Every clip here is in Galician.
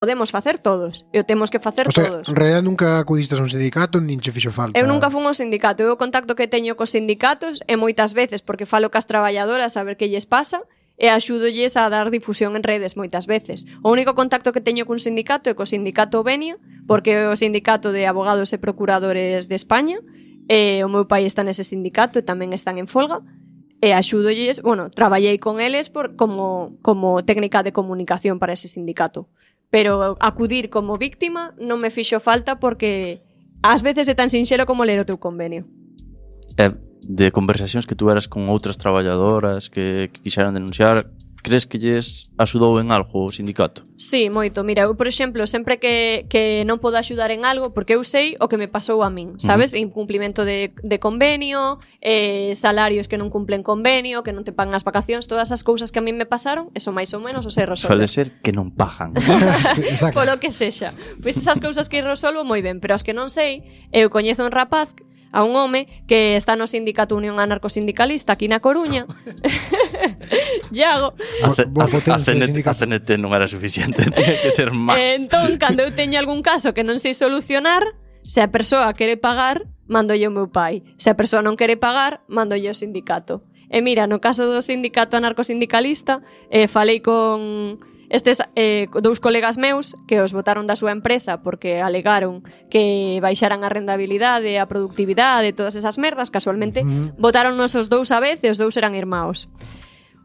podemos facer todos, e o temos que facer todos. En realidad nunca acudiste a un sindicato, nin che fixo falta. Eu nunca fun ao sindicato, eu o contacto que teño cos sindicatos é moitas veces porque falo cas traballadoras a ver que lles pasa e axúdolles a dar difusión en redes moitas veces. O único contacto que teño cun sindicato é co sindicato Venia, porque é o sindicato de abogados e procuradores de España, e o meu pai está nese sindicato e tamén están en folga, e axúdolles, traballei con eles como técnica de comunicación para ese sindicato. Pero acudir como víctima non me fixo falta porque ás veces é tan sinxelo como ler o teu convenio. De conversacións que tuveras con outras traballadoras que quixeran denunciar, crees que lles axudou en algo o sindicato? Sí, moito. Mira, eu, por exemplo, sempre que non podo axudar en algo, porque eu sei o que me pasou a min, sabes? Incumplimento de convenio, salarios que non cumplen convenio, que non te pagan as vacacións, todas as cousas que a min me pasaron, eso máis ou menos o sei resolver. Suele ser que non pagan. Sí, exacto. Polo que sexa. Pois esas cousas que resolvo moi ben, pero as que non sei, eu coñezo un rapaz, a un home que está no sindicato Unión Anarcosindicalista aquí na Coruña. Iago. A CNT non era suficiente, tiña que ser máis. Entón, cando eu teño algún caso que non sei solucionar, se a persoa quere pagar, mandolle o meu pai. Se a persoa non quere pagar, mandolle o sindicato. E mira, no caso do sindicato anarcosindicalista, falei con estes dous colegas meus que os botaron da súa empresa porque alegaron que baixaran a rendabilidade, a productividade, todas esas merdas, casualmente botaronnos os dous a vez e os dous eran irmãos.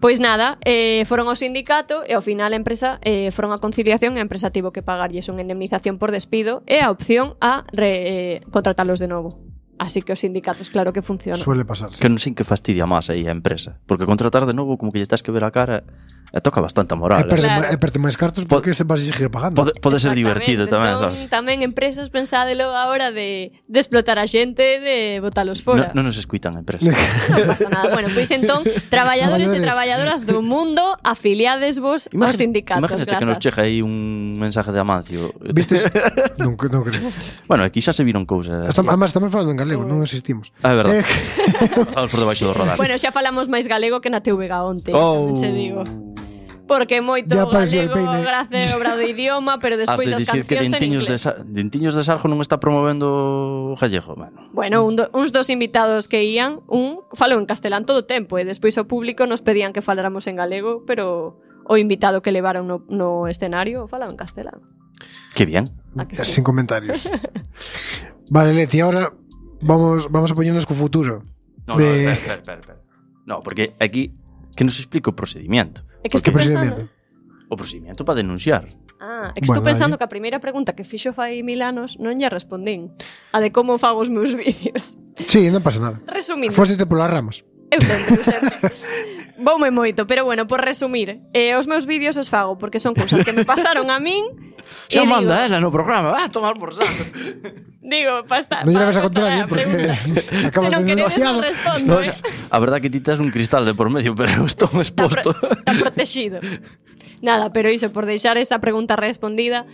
Pois nada, foron ao sindicato e ao final a empresa foron a conciliación e a empresa tivo que pagarlles unha indemnización por despido e a opción a contratalos de novo. Así que os sindicatos claro que funcionan. Suele pasar. Que non sei que fastidia máis aí a empresa, porque contratar de novo como que lle tens que ver a cara e toca bastante a moral. E perde máis cartos porque se vas a seguir pagando. Pode ser divertido tamén, entón, sabes? Tamén empresas pensádelo a hora de explotar a xente, de botalos fora. Non nos escuitan a empresa. Non pasa nada. Bueno, pois entón, traballadores e traballadoras do mundo, afiliades vos aos sindicatos. Imagínate que nos chega aí un mensaje de Amancio. Vistes? Non creo. Bueno, aquí xa se viron cousas. Además, estamos falando en galego, non existimos. É verdade. Estamos por debaixo do radar. Bueno, xa falamos máis galego que na TVG onte, se digo. Porque moito galego gracias a obra do idioma, pero despois as cancións en inglés. Dentiños de Sarjo non está promovendo o gallego, Bueno, uns dos invitados que ían, un falou en castelán todo o tempo e despois o público nos pedían que faláramos en galego, pero o invitado que levaron no escenario falaba en castelán. Que bien. Sin comentarios. Vale, Leti, ahora vamos a poñernos co futuro. No, espera. No, porque aquí que nos explica o procedimiento. É que estou pensando... O procedimiento para denunciar. É que estou pensando que a primeira pregunta que fixo fai 1000 anos non lle respondín. A de como fago os meus vídeos. Sí, non pasa nada. Resumindo. Fósete polas ramas. Eu sempre. Voume moito, pero bueno, por resumir, os meus vídeos os fago porque son cousas que me pasaron a min. Xa manda ela no programa, va a tomar por saco. Digo, para estar. Non lle vas a contar porque acabas de denunciado. No, a verdad que ti tes un cristal de por medio, pero eu estou exposto. Está protegido. Nada, pero iso, por deixar esta pregunta respondida,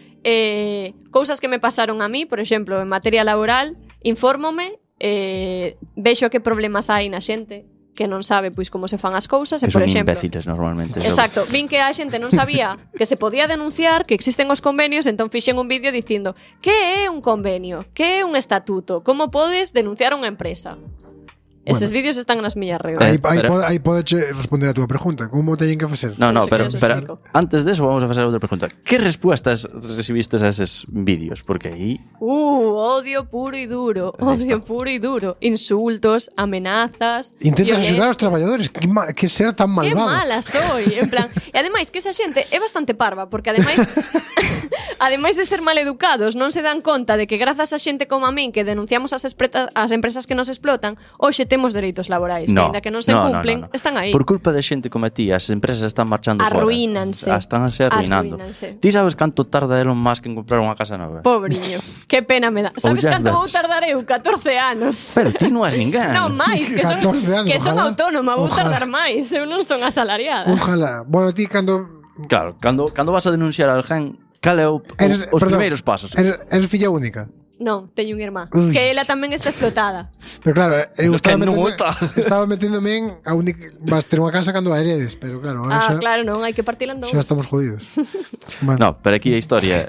cousas que me pasaron a mí, por exemplo, en materia laboral, infórmome, vexo que problemas hai na xente que non sabe pois como se fan as cousas e, por exemplo, imbéciles normalmente. Exacto, vin que a xente non sabía que se podía denunciar, que existen os convenios, entón fixen un vídeo dicindo que é un convenio, que é un estatuto, como podes denunciar unha empresa. Eses vídeos están nas miñas redes. Aí podes responder a túa pregunta. Como teñen que facer? No, pero antes de eso vamos a facer outra pregunta. Que respuestas recibistes a eses vídeos? Porque aí... odio puro e duro. Odio puro e duro. Insultos, amenazas... Intentas axudar aos traballadores. Que será tan malvado. Que mala soy. En plan... E ademais, que esa xente é bastante parva, porque ademais... ademais de ser maleducados, non se dan conta de que grazas a xente como a min que denunciamos as empresas que nos explotan, hoxe temos dereitos laborais, que ainda que non se cumplen, están aí. Por culpa de xente como a ti, as empresas están marchando fora. Arruínanse. Están arruinando. Ti sabes canto tarda Elon Musk en comprar unha casa nova? Pobriño, que pena me dá. Sabes canto vou tardar eu? 14 anos. Pero ti non és ninguén. Non, máis, que son autónoma, vou tardar máis. Eu non son asalariada. Ojalá. Bueno, ti cando... Claro, cando vas a denunciar a alguén, cal é os primeiros pasos? Eres filla única? Non, teño unha irmá. Ui. Que ela tamén está explotada. Pero claro, eu Que non está. estaba meténdome en a única vas ter unha casa cando a heredes, pero claro, ahora Ah, xa, claro, non, hai que partir en dous. xa estamos jodidos. Bueno, No, pero aquí a historia